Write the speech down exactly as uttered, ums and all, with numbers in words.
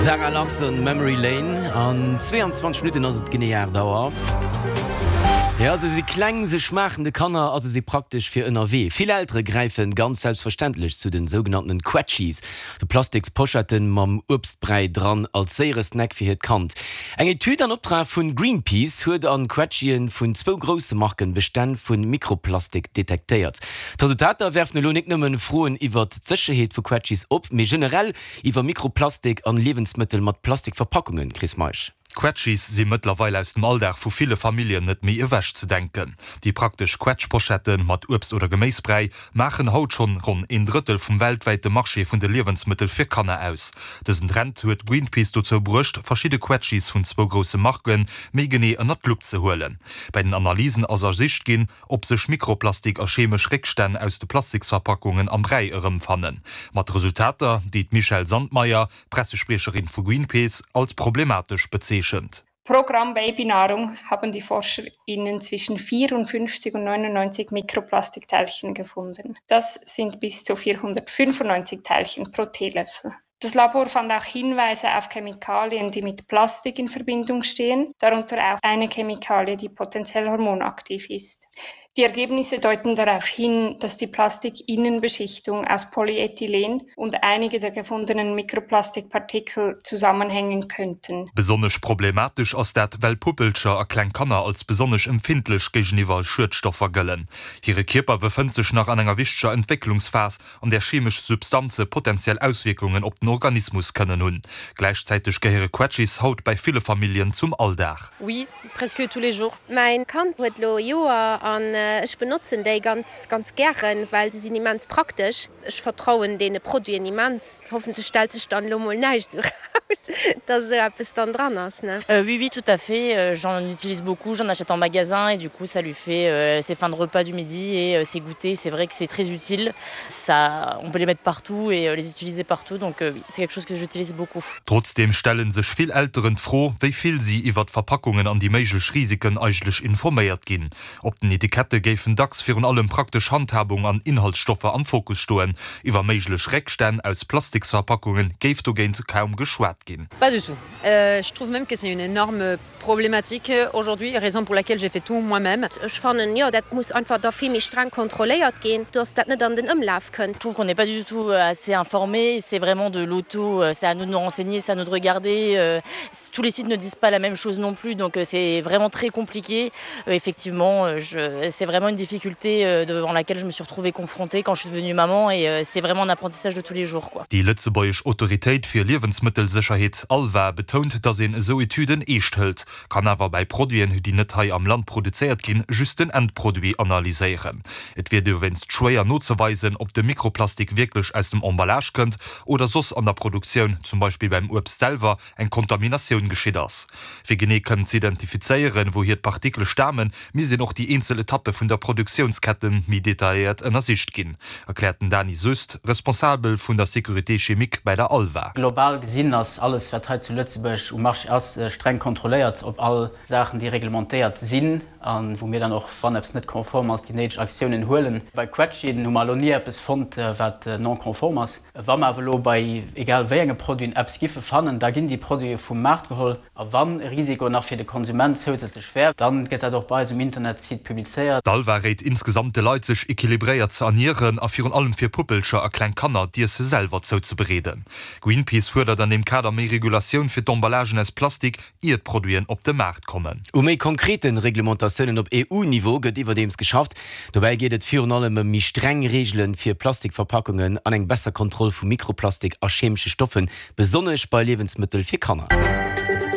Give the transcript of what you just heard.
Zara Larsson, Memory Lane. An zweeanzwanzeg Minutten ass et genee aacht Auer. Ja, se si kleng, se schmaachen de Kanner a se si praktesch fir ënnerwee. Vill Eltere gräife ganz selbstverständlech zu den sougenannten Quetschies, de Plastiksposchetten mam Uebstbräi dran, als séiere Snack fir hiert Kand. Eng Etüd an Optrag vun Greenpeace huet an Quetschien vun zwou grousse Marken Bestänn vun Mikroplastik detektéiert. D'Resultater werfen elo net nëmmen Froen iwwert d'Sécherheet vu Quetschies op, mee generell iwwer Mikroplastik an Liewensmëttel mat Plastikverpackungen. Chris Meisch. Quetschies si mëttlerweil aus dem Alldag vu ville Familljen net méi ewechzedenken. Déi praktesch Quetschposchette mat Uebst oder Geméisbräi maachen haut schonn ronn een Drëttel vum weltwäite Marché vun de Liewensmëttel fir Kanner aus. Dësen Trend huet Greenpeace dozou bruecht, verschidde Quetschies vun zwou grousse Marke méi genee ënnert d'Lupp ze huelen. Bei den Analysen ass ersicht ginn, ob sech Mikroplastik a chemesch Réckstänn aus de Plastiksverpackungen am Bräi erëmfannen. Mat Resultater, déi d'Michèle Sandmeier, Pressespriecherin vu Greenpeace, als problematesch bezeechent. Pro Gramm Babynahrung haben die ForscherInnen zwischen vierundfünfzig und neunundneunzig Mikroplastikteilchen gefunden. Das sind bis zu vierhundertfünfundneunzig Teilchen pro Teelöffel. Das Labor fand auch Hinweise auf Chemikalien, die mit Plastik in Verbindung stehen, darunter auch eine Chemikalie, die potenziell hormonaktiv ist. Die Ergebnisse deuten darauf hin, dass die Plastikinnenbeschichtung aus Polyethylen und einige der gefundenen Mikroplastikpartikel zusammenhängen könnten. Besonnesch problematesch ass dat, well Puppelcher a kleng Kanner als besonnesch empfindlech géigeniwwer Schuedstoffer gëllen. Hire Kierper befënnt sech nach an enger wichteger Entwécklungsphas, an där chemesch Substanze potenziell Auswierkungen op den Organismus kënnen hunn. Gläichzäiteg gehéiere Quetschis haut bei ville Familljen zum Alldag. Oui, presque tous les jours. Mäin Kand huet lo e Joer an ech benotzen déi ganz ganz gären, well se sinn immens praktesch. Ech vertrauen deene Produiten immens. Hoffentlech stellt sech dann elo mol näischt esou raus, dass esou eppes dann dran ass, ne? Oui oui tout à fait, j'en utilise beaucoup, j'en achète en magasin et du coup ça lui fait ses fins de repas du midi et ses goûters, c'est vrai que c'est très utile, ça on peut les mettre partout et les utiliser partout donc oui c'est quelque chose que j'utilise beaucoup. Trotzdeem stelle sech vill Elteren d'Fro, wéi vill si iwwer d'Verpackungen an déi méiglech Risiken eigentlech informéiert ginn. Op den Etikette géifen dacks virun allem praktesch Handhabung an Inhaltsstoffer am Fokus stoen. Iwwer méiglech Réckstänn aus Plastiksverpackunge géif dogéint kaum geschwat ginn. Pas du tout. Je trouve même que c'est une énorme problématique aujourd'hui, raison pour laquelle j'ai fait tout moi-même. Ech fannen, jo, dat muss einfach da vill méi streng kontrolléiert ginn, dass dat net an den Ëmlaf kënnt. Je trouve qu'on n'est pas du tout assez informé, c'est vraiment de l'auto, c'est à nous de nous renseigner, c'est à nous de regarder. Tous les sites ne disent pas la même chose non plus, donc c'est vraiment très compliqué. Effectivement, je, c'est vraiment une difficulté devant laquelle je me suis retrouvée confrontée quand je suis devenue maman et c'est vraiment un apprentissage de tous les jours, quoi. Déi lëtzebuergesch Autoritéit fir Liewensmëttelsécherheet, ALVA, betount, datt een esou Etüden eescht hëlt, kann awer bei Produiten, déi net hei am Land produzéiert ginn, just den Endproduit analyséieren. Et wier dowéinst schwéier nozeweisen, ob de Mikroplastik wierklech aus dem Emballage kënnt oder soss an der Produktioun, zum Beispill beim Uebst selwer, eng Kontaminatioun geschitt ass. Fir genee kënnen z'identifizéieren, wouhier d'Partikele stamen, misst een och déi eenzel Etappe vun der Produktiounskette méi detailléiert ënnersicht ginn, erkläert den Dany Süst, Responsabel vun der Sécurité chimique bei der ALVA. Global gesinn ass alles, wat hei zu Lëtzebuerg um Marché ass, streng kontrolléiert op all Saachen, déi reglementéiert sinn a wou mir dann och, wann eppes net konform ass, déi néideg Aktiounen huelen. Bei Quetschien hu mer elo ni eppes fonnt, wat non conforme ass. Wa mer awer elo bei egal wéi enge Produiten eppes giffe fannen, da ginn déi Produite vum Maart geholl. A wann e Risiko nach fir de Konsument zousätzlech wär, dann gëtt dat och bei eis um Internetsite publizéiert. D'Alva réit insgesamt de Leit, sech equilibréiert ze ernieren a virun allem fir Puppelcher a kleng Kanner d'Iesse selwer zouzebereeden. Greenpeace fuerdert an deem Kader méi Regulatioun fir d'Emballagen aus Plastik, ier d'Produiten op de Maart kommen. U méi konkrete Reglementatiounen op E U-Niveau gëtt iwwerdeems geschafft. Dobäi geet et virun allem ëm méi streng Reegele fir Plastikverpackungen an eng besser Kontroll vu Mikroplastik a chemesche Stoffen, besonnesch bei Liewensmëttel fir Kanner.